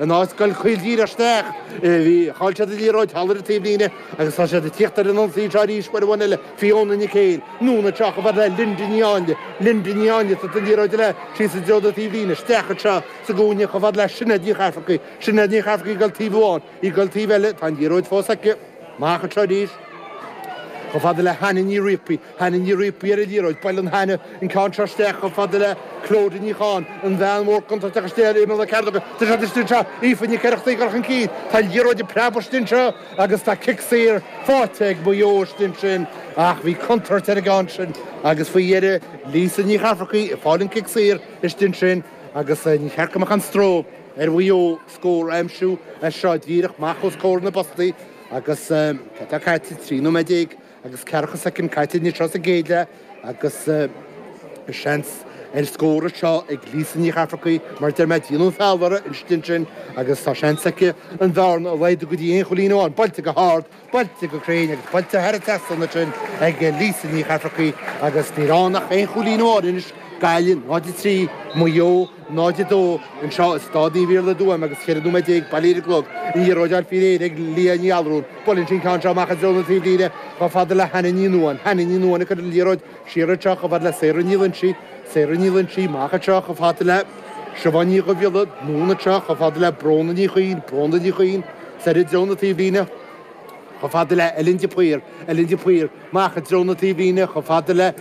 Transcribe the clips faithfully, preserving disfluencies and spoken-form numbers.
In áit dul caol díreach isteach, bhí, chaill siad an liathróid thall ar an taobhlíne agus tá siad ag tíocht ar an ionsaí anseo arís uair amháin eile, Fiona Nic Éil, anonn anseo chomh fada le Linda Ní Áinle, Linda Ní Áinle, tabhairt an liathróid eile síos i dtreo na taobhlíne, isteach anseo sa gcúinne chomh fada le Sinéad Ní Chaifearcaigh, Sinéad Ní Chaifearcaigh ag dul taobh amháin, í ag dul taobh eile, tá an liathróid fós aici, amach anseo arís. Chomh fada le Hannah Ní Riapaí, Hannah Ní Riapaí ar an liathróid, buaileann Hannah an ceann seo isteach chomh fada le Clodagh Ní Cháin, an bhean mhór contúirteach istigh ar imeall na cearnóige. Tá siad istigh anseo, Aoife Nic Oireachtaigh ag dul chun cinn, tá an liathróid ag preabadh istigh anseo agus tá cic saor faighte ag Maigh Eo istigh ansin ach bhí contúirt ar an gceann sin agus faoi dheireadh Lisa Ní Chaifearcaigh ag fáil an cic saor istigh ansin agus ní cheart go mbeadh aon stró ar Mhaigh Eo scór a aimsiú as seo díreach amach os comhair na bpostaí agus cad atá caite, trí nóiméad déag agus ceathracha soicind caite anseo sa gcéad leath agus seans ar scór anseo ag Lisa Ní Chaifearcaigh mar deir mé déanadh feall uirthi ansin agus tá seans aici an bhearna a laghdú go dtí aon chúilín amháin. Buailte go hard, buailte go cruinn agus buailte thar an trasnán ansin ag Lisa Ní Chaifearcaigh agus níl ann ach aon chúilín amháin anois, Gaillimh náid a trí, Maigh Eo náid a dó anseo i Staid Naomh Iarlaith i dTuaim agus ceithre nóiméad déag bailithe ar an gclog. An liathróid á fáil faoi réir ag Leah Ní Allrúin. Buaileann sí an ceann seo amach i dtreo na taobhlíne chomh fada le Hannah Ní Nuadháin. Hannah Ní Nuadháin ag cur an liathróid siar anseo chomh fada le Sarah Ní Loinsigh. Sarah Ní Loinsigh amach anseo chomh fada le Siobhán Ní Dhubhghiolla. Anonn anseo chomh fada le Bróna Ní Chuinn. Bróna Ní Chuinn soir i dtreo na taobhlíne. Chomh fada le Ellen de Paor, Ellen de Paor, amach i dtreo na taobhlíne, chomh fada le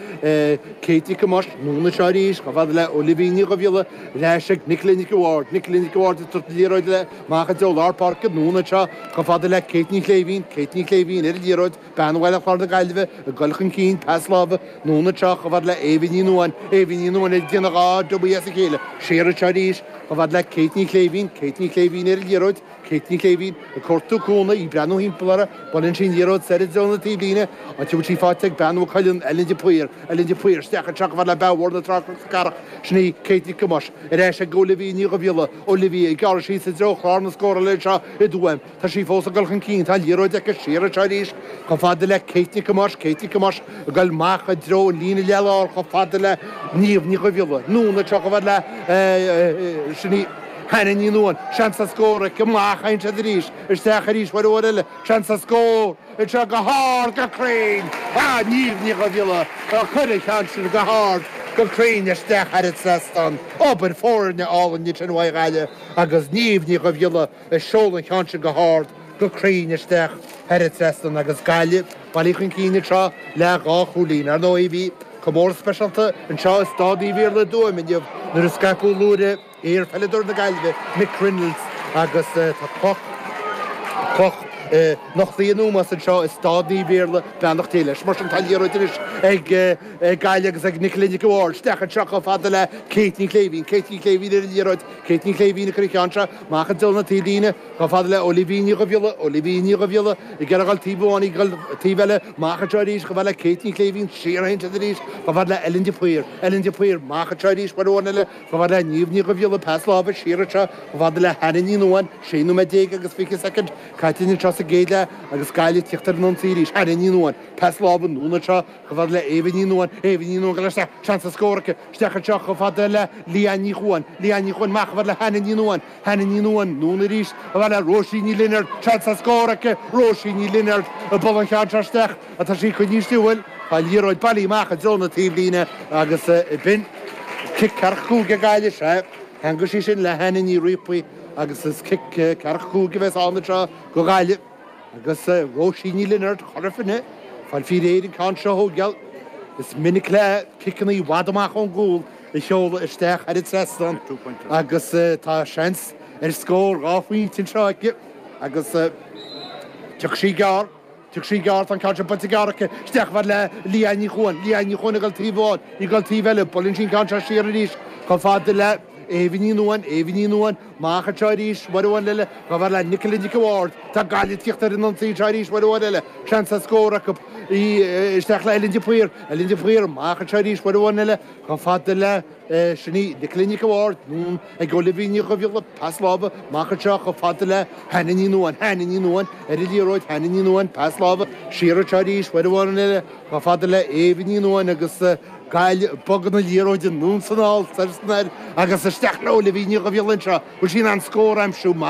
Kate Nic Thomáis, anonn anseo arís, chomh fada le Olivia Ní Dhubhghiolla, ar ais ag Nicola Nic a' Bhaird, Nicola Nic a' Bhaird ag tabhairt an liathróid eile amach i dtreo lár páirce, anonn anseo, chomh fada le Kate Ní Shléibhín, Kate Ní Shléibhín ar an liathróid, bean Bhaile Chláir na Gaillimhe ag dul chun cinn, pas láimhe, anonn anseo, chomh fada le Éabha Ní Nuadháin, Éabha Ní Nuadháin ag déanamh dhá dummy as a chéile, siar anseo arís, chomh fada le Kate Ní Shléibhín, Kate Ní Shléibhín ar an liathróid. Kate Ní Shléibhín ag cuartú cúnamh, í ag breathnú thimpeall uirthi, buaileann sí an liathróid soir i dtreo na taobhlíne, áit a bhfuil sí faighte ag bean Mhaigh Cuilinn, Ellen de Paor, Ellen de Paor, isteach anseo chomh fada le bean mhór na Trá Carrach, sin í Kate Nic Thomáis, ar ais ag Olivia Ní Dhubhghiolla, Olivia ag gearradh síos i dtreo chlár na scórála anseo i dTuaim, tá sí fós ag dul chun cinn, tá an liathróid aici siar anseo arís chomh fada le Kate Nic Thomáis, Kate Nic Thomáis ag dul amach i dtreo an líne leath-lár chomh fada le Niamh Ní Dhubhghiolla, anonn anseo chomh fada le, sin í. Hannah Ní Nuadháin, seans ar scór aici, amach a théann siad arís, isteach arís uair amháin eile, seans ar scór anseo go hard, go cruinn! Ah, Niamh Ní Dhubhghiolla a chuir an ceann sin go hard, go cruinn isteach thar an trasnán. Obair foirne álainn ansin uaidh Ghaillimh agus Niamh Ní Dhubhghiolla ag seoladh an cheann sin go hard, go cruinn isteach thar an trasnán agus Gaillimh bailithe chun cinn anseo le dhá chúilín. Ar ndóigh bhí comóradh speisialta anseo i Staid Naomh Iarlaith i dTuaim inniu nuair a scaipeadh blúire Iar-pheileadóir na Gaillimhe, Mick Reynolds agus tá cloch, cloch nochtaithe in ómós anseo i Staid Naomh Iarlaith, beannacht Dé leis. Mar sin tá an liathróid anois ag Gaillimh agus ag Nicola Nic a' Bhaird. Isteach anseo chomh fada le Kate Ní Shléibhín. Kate Ní Shléibhín ar an liathróid. Kate Ní Shléibhín ag cur an cheann seo amach i dtreo na taobhlíne chomh fada le Olivia Ní Dhubhghiolla. Olivia Ní Dhubhghiolla ag iarraidh a dhul taobh amháin, ag dul taobh eile. Amach anseo arís chomh fada le Kate Ní Shléibhín. Siar a théann siad arís chomh fada le Ellen de Paor. Ellen de Paor amach anseo arís uair amháin eile. Chomh fada le Niamh Ní Dhubhghiolla, pas láimhe siar anseo chomh fada le Hannah Ní Nuadháin, sé nóiméad déag agus fiche soicind caite anseo sa gcéad leath agus Gaillimh ag tíocht ar an ionsaí arís. Hannah Ní Nuadháin, pas láimhe anonn anseo chomh fada le Éabha Ní Nuadháin, Éabha Ní Nuadháin ag dul isteach, seans ar scór aici, isteach anseo chomh fada le Leanne Ní Chuain, Leanne Ní Chuain amach chomh fada le Hannah Ní Nuadháin, Hannah Ní Nuadháin anonn arís chomh fada le Róisín Ní Lionáird, seans ar scór aici, Róisín Ní Lionáird ag bualadh an cheann seo isteach ach tá sí coinnithe istigh, bhuel, tá an liathróid bailithe amach i dtreo na taobhlíne agus b'in. Cic ceathracha cúig ag Gaillimh, sea. Theangaigh sí sin le Hannah Ní Riapaí agus is cic ceathracha cúig a bheas ann anseo do Ghaillimh. Agus Róisín Ní Lionáird, Chora Finne, fáil faoi réir an ceann seo a thógáil. Is minic léi ciceanna i bhfad amach ón gcúl a sheoladh isteach thar an trasnán agus tá seans ar scór dhá phointe anseo aici agus tiocfaidh sí gearr. Tiocfaidh sí gearr, tá an ceann seo buailte gearr aici, isteach chomh fada le Leanne Ní Chuain, Leanne Ní Chuain ag dul taobh amháin, í ag dul taobh eile, buaileann sí an ceann seo siar arís chomh fada le Éabha Ní Nuadháin, Éabha Ní Nuadháin, amach anseo arís, uair amháin eile, chomh fada le Nicola Nic a' Bhaird, tá Gaillimh ag tíocht ar an ionsaí anseo arís uair amháin eile, seans ar scór acu, í isteach le Ellen de Paor, Ellen de Paor, amach anseo arís uair amháin eile, chomh fada le. Sin í Nicola Nic a' Bhaird, anonn ag Olivia Ní Dhubhghiolla, pas láimhe, amach anseo chomh fada le Hannah Ní Nuadháin, Hannah Ní Nuadháin ar an liathróid, Hannah Ní Nuadháin, pas láimhe, siar anseo arís, uair amháin eile, chomh fada le Éabha Ní Nuadháin agus Gaillimh ag bogadh na liathróide anonn is anall soir is anoir agus isteach leo Olivia Ní Dhubhghaill anseo bhfuil sí in ann scór a aimsiú